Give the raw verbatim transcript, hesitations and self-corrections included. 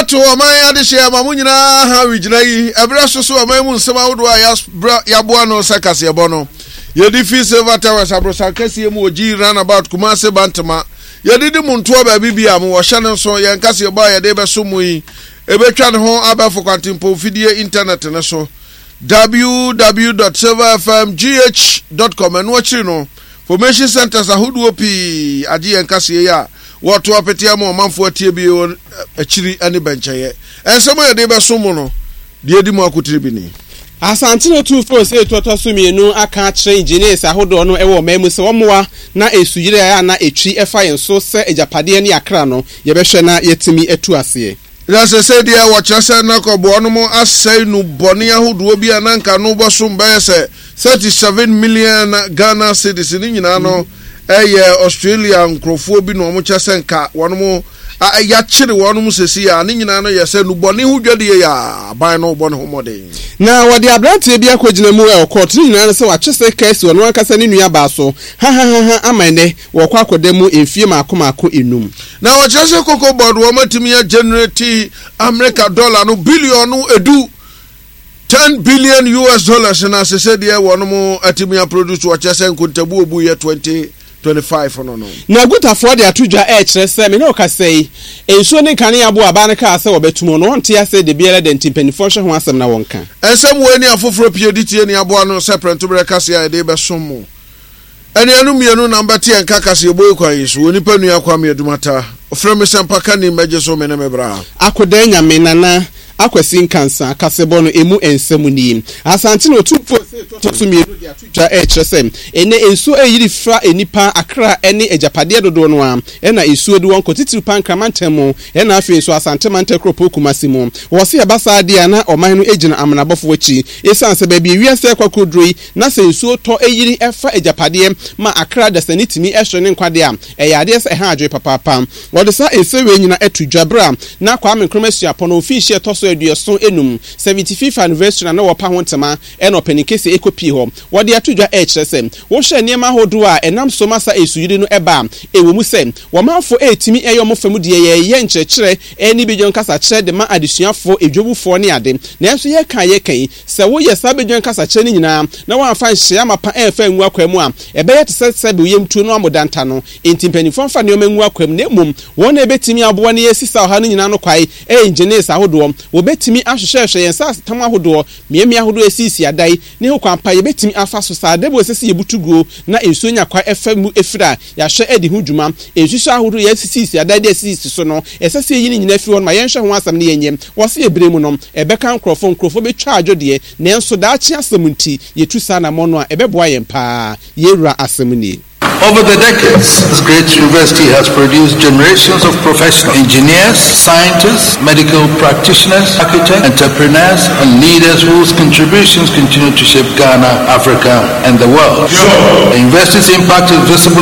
Ato ɔman adehyeɛ ma mo nyinaa ha regyina yi ɛberɛ so so ɔman mu nsɛm ahodoɔ a yɛaboa no sɛ kaseɛbɔ no yɛde fi Silver Towers aborosan kɛseɛ mu wɔ G Runabout Kumase Bantama. Yɛde di mo ntoɔ baabi bi a mowɔ hyɛ no nso yɛn kaseɛbɔ a yɛde bɛso mu yi ɛbɛtwa ne ho abɛfo kwantempɔn fidie internet no so w w w dot silverfmgh dot com. Ɛno akyiri no, formation centers ahodoɔ pii agye yɛn kaseɛ yi a wɔto apete ama ɔmanfoɔ atie bi wɔ akyiri ne bɛnkyɛeɛ. Ɛnsɛm a yɛde bɛso mu no deɛ di mu akotiri bi ni. Asante no tumfoɔ sɛ ɛtɔtɔ so mmienu aka akyerɛ engineers ahodoɔ no ɛwɔ ɔman mu sɛ wɔmmoa na esuyere a na etwi ɛfa yɛn so sɛ agyapadeɛ ne akra no, yɛbɛhwɛ na yɛtumi atu aseɛ. Na sɛ sɛ deɛ wɔkyerɛ sɛ nakɔboɔ no mo asɛe no bɔne ahodoɔ bi a na nka no bɔsom bɛyɛ sɛ thirty-seven million Ghana cedis ne nyinaa no ɛyɛ Australia nkurɔfoɔ bi na wɔn kyɛ sɛ nka wɔn mo yɛakyere wɔn mo sɛsi a ne nyinaa no yɛ sɛ nubɔne ho dwadie yɛ aban no bɔ ne ho mmɔden. Na wɔde aberanteɛ bi akɔgyina mu ɛwɔ court ne nyinaa no sɛ wakye sɛ kɛsi ɔno ankasa ne nua baa so hahahaha ama ɛnɛ wɔkɔ akɔda mu mfie maako maako enum. Na wɔkyerɛ sɛ Cocoa Board wɔn atumi agenerate America dollar no billion no edu, ten billion U S dollars, na sese deɛ wɔn mo atumi aproduce. Wɔkyerɛ sɛ nkontabu obu yɛ twenty twenty five no no. Na gutafoɔ de ato dwa ɛrekyerɛ sɛ me ne ɔkasa yi nsuo ne nkanea bo aba no kaa sɛ wɔbɛtum no, wɔnte ase de biara da, nti mpanimfoɔ hwɛ ho asɛm na wɔnka. Ɛnsɛm wɔ ani afoforɔ pie di tie ne aboa no sɛ prɛntoberɛ kaseɛ a yɛde bɛsom mo. Anuanom mmienu na mbɛte yɛn ka kaseɛbɔ yi kwan yi so wɔ nipa nua Kwame Adumata ɔfrɛ me sɛ mpaka ni mmɛgye so me ne me bra. Akodan Nyame Nana Akwasi Nkansa kasebɔ no emu nsɛm nie. Asante na otumfoɔ sɛ ɛtɔ so mmienu de ato dwa ɛrekyerɛ sɛ ɛnɛ nsuo ɛyiri fra nnipa akra ne agyapadeɛ dodoɔ no a ɛna nsuo de wɔn kɔ titiri Pankra mantam mu, ɛna afei nso Asante mantam kuropɔn Kumasi mu. Wɔsi ɛba saa deɛ a, na ɔman no gyina amenabɔfoɔ akyi, ɛsiane sɛ baabi ewiase ɛkɔ akɔduro yi na sɛ nsuo tɔ ɛyiri ɛfa agyapadeɛ ma akra dasani tumi ɛhwɛ ne nkwadeɛ a, ɛyɛ adeɛ sɛ ɛha adwene papaapa. Wɔde saa nsɛm wei nyina ɛto dwa berɛ a na Kwame Nkrumah Suapɔn no mfinhyia ɛtɔ so aduɔson enum, seventy-fifth anniversary, na na wɔpa ho ntoma ɛna ɔpanin kɛseɛ ɛkɔpie hɔ. Wɔde ato dwa ɛrekyerɛ sɛ wohwɛ nneɛma ahodoɔ a ɛnam so ma sa esuyiri no ɛba a, ɛwɔ mu sɛ wɔmanfo ɛretumi ɛyɛ ɔmo fam deɛ, yɛyɛ nkyerɛkyerɛ ɛne badwam kasakyerɛ de ma adesuafoɔ, edwowufoɔ ne ade, nanso yɛka yɛka yi sɛ woyɛ saa badwam kasakyerɛ no nyinaa na wɔamfa nhyɛ amapa ɛmfa ngu akwan mu a, ɛbɛyɛ te sɛ sɛbi yɛmtuo no amodanta no. Nti mpanimfoɔ mfa nneɛma ngu akwan mu, na mmom wɔn a ɛbɛtumi aboa ne yɛsi sa ɔha no nyinaa no kwae ɛyɛ engineers ahodoɔ. Wɔbɛtumi ahwehwɛhwɛ yɛn nsa asetam ahodoɔ, mmeammea ahodoɔ esiesie adan ne ho kwan pa yɛbɛtumi afa so saa dɛbɔ ɛsɛ sɛ yɛbutu guo na nsuo nya kwa ɛfa mu efiri a yɛahwɛ adi ho dwuma. Nsuso ahodoɔ yɛasisisi adan de asisisi so no, ɛsɛ sɛ yɛyi ne nyinaa firi hɔ no ma yɛnhwɛ ho asɛm no yɛnyɛ. Wɔsi ebire mu no ɛbɛka nkurɔfoɔ, nkurɔfoɔ bɛtwa adwo deɛ, nanso daakye asɛm nti yɛtu saa anamɔ no a, ɛbɛboa yɛn paa. Yɛwura asɛm nie. Over the decades, this great university has produced generations of professionals, engineers, scientists, medical practitioners, architects, entrepreneurs, and leaders whose contributions continue to shape Ghana, Africa, and the world. The university's impact is visible